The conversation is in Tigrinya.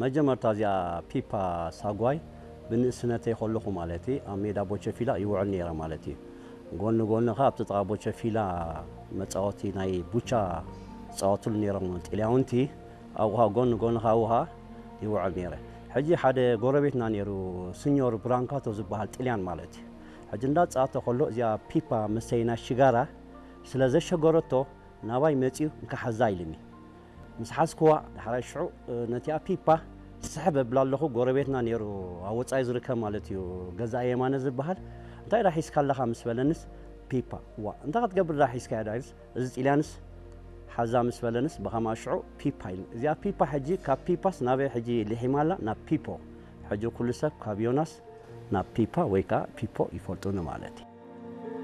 መጀመርታ እዚኣ ፒፓ ሳጓይ ብንእስነተይ ከለኹ ማለት እዩ ኣብ ሜዳ ቦቸፊላ ይውዕል ነይረ ማለት እዩ። ጎኒ ጎኒ ኸዓ ኣብቲ ጥቓ ቦቸፊላ መጻወቲ ናይ ቡቻ ዝጻወትሉ ነይሮም ጥልያውንቲ ኣብኡ ኸዓ ጎኒ ጎኒ ኸዓ ኣብኡ ኸዓ ይውዕል ነይረ። ሕጂ ሓደ ጎረቤትና ነይሩ፣ ስኞር ብራንካቶ ዝበሃል ጥልያን ማለት እዩ። ሕጂ እንዳጻወተ ከሎ እዚኣ ፒፓ መስተይ ናይ ሽጋራ ስለ ዘሸገረቶ ናባይ መጺኡ እንካ ሓዛ ኢልኒ። ምስ ሓዝክዋ ዳሕራይ ሽዑ ነቲኣ ፒፓ ስሕብ እብላ ኣለኹ። ጎረቤትና ነይሩ ኣብ ወጻኢ ዝርከብ ማለት እዩ ገዛኢ የማነ ዝበሃል። እንታይ ዳ ሒዝካ ኣለኻ ምስ በለንስ ፒፓ። ዋ እንታይ ክትገብር ዳ ሒዝካ ያ ዳይልስ እዚ ጥልያንስ ሓዛ ምስ በለንስ ብኸማ ሽዑ ፒፓ ኢሉ። እዚኣ ፒፓ ሕጂ ካብ ፒፓስ ናበይ ሕጂ ልሒማ ኣላ ናብ ፒፖ። ሕጂ ኩሉ ሰብ ካብ ዮናስ ናብ ፒፓ ወይ ከዓ ፒፖ ይፈልጡኒ ማለት እዩ።